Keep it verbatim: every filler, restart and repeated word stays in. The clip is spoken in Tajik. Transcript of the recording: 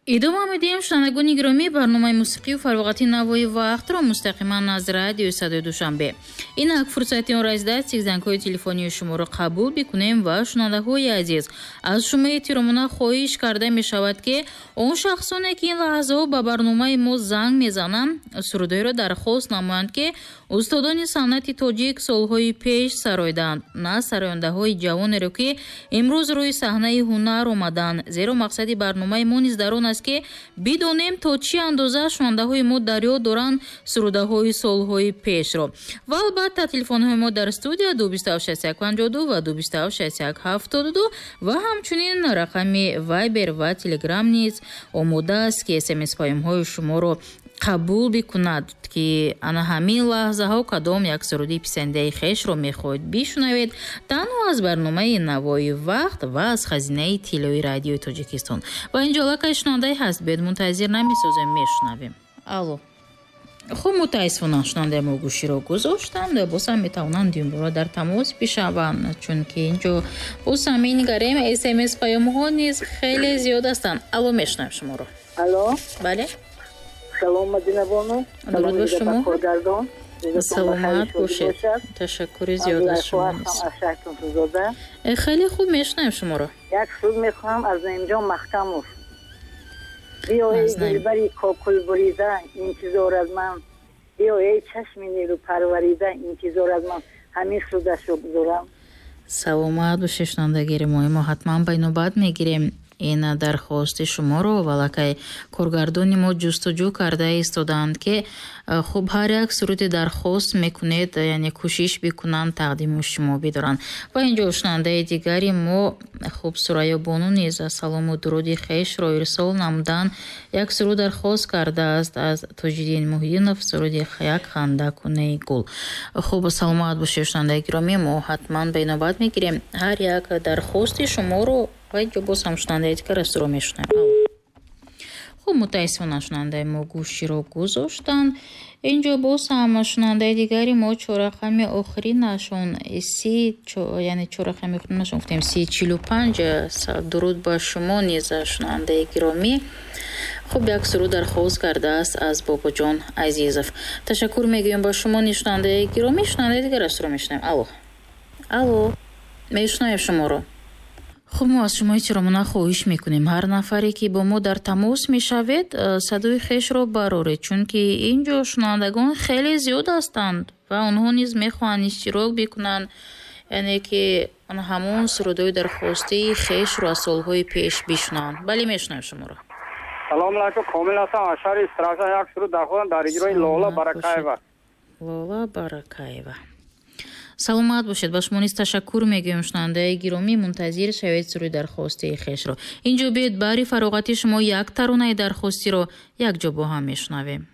Идома медиҳем, шунавандагони гиромӣ, барномаи мусиқию фароғати «Навои вақтро» мустақиман аз радиои Садои Душанбе. Инак фурсати он расидааст, ки зангҳои телефонии шуморо қабул бикунем ва, шунавандаҳои азиз, аз шумо эҳтиромона хоҳиш карда мешавад, ки он шахсоне, ки ин лаҳзаҳо ба барномаи мо занг мезананд, сурудҳоеро дархост намоянд, ки устодони санъати тоҷик солҳои пеш сароиданд, на сарояндаҳои ҷавонеро, ки имрӯз рӯи саҳнаи ҳунар омаданд. Зеро мақсади барномаи мо низ дар он аст, ки бидонем, то чӣ андоза шунавандаҳои мо дар ёд доранд сурудаҳои солҳои пешро. Ва албатта, телефонҳои мо дар студия ду бисту ҳафт шасту як панҷоҳу ду ва ду бисту ҳафт шасту як ҳафтоду ду ва ҳамчунин рақами Вайбер ва Телеграм низ омода аст, ки смс паёмҳои шуморо қабул бикунад, ки ана ҳамин лаҳзаҳо кадом як суруди писандаи хешро мехоҳед бишунавед танҳо аз барномаи «Навои вақт» ва аз хазинаи тиллои радиои Тоҷикистон. Ва инҷо аллакай шунавандае ҳаст, биёед, мунтазир намесозем, мешунавем. Алло! Хуб, мутаассифона, шунавандаи мо гӯширо гузоштанд. Боз ҳам метавонанд димбора дар тамос бишаванд, чунки инҷо боз ҳам менигарем, смс паёмҳо низ хеле зиёд ҳастанд. Алло, мешунавем шуморо. Алло. Бале. Салом, Мадинабону. Дуруд ба шумо. Коргардон. Саломат бошед, ташаккури зиёд аз шумо низ. Э, хеле хуб мешунавем шуморо. Як суруд мехоҳам аз Наимҷон Маҳкамов: «Биё, эй дилбари кокул бурида, интизор аз ман, биё, эй чашми нерӯ парварида, интизор аз ман». Ҳамин сурудашро гузорам. Саломат бошед, шунавандагири мо. Мо ҳатман ба инобат мегирем ин дархости шуморо. Ва аллакай коргардони мо ҷустуҷӯ карда истодаанд, ки э, хуб, ҳар як суруди дархост мекунед, яъне кӯшиш бикунанд, тақдими шумо бидоранд. Ва инҷо шунавандаи дигари мо, хуб, Сурайё Бону низ салому дуруди хешро ирсол намуданд. Як суруд дархост кардааст аз Тоҷиддин Муҳиддинов, суруди «Як ханда кунаи гул». Хуб, саломат бошед, шунавандаи гиромӣ, мо ҳатман ба инобат мегирем ҳар як дархости шуморо. Ва инҷо боз ҳам шунавандаи дигар астро мешунавем. Хуб, мутаассифона, шунавандаи мо гӯширо гузоштанд. Инҷо боз ҳам шунавандаи дигари мо, чоррақами охиринашон си, яъне чоррақами охиринашон гуфтем си чилу панҷ. Дуруд ба шумо низ, шунавандаи гиромӣ. Хуб, як суруд дархост кардааст аз Бобоҷон Азизов. Ташаккур мегӯем ба шумо низ, шунавандаи гиромӣ. Шунавандаи дигар астро мешунавем. Алло, алло, мешунавем шуморо. Хуб, мо аз шумо эҳтиромона хоҳиш мекунем: ҳар нафаре, ки бо мо дар тамос мешавед, э, садои хешро бароред, чунки ин ҷо шунавандагон хеле зиёд ҳастанд ва онҳо низ мехоҳанд иштирок бикунанд, яъне ки ҳамон сурудҳои дархостии хешро аз солҳои пеш бишунаванд. Бале, мешунавем шуморо. Салому алайкум, Комил ҳастам аз шаҳри Истаравшан. Як суруд дархостам дар иҷрои Лола Баракаева. Лола Баракаева, саломат бошед. Ба шумо низ ташаккур мегӯем, шунавандаи гиромӣ. Мунтазир шавед суруди дархостии хешро. Инҷо биёед, баҳри фароғати шумо як таронаи дархостиро якҷо бо ҳам мешунавем.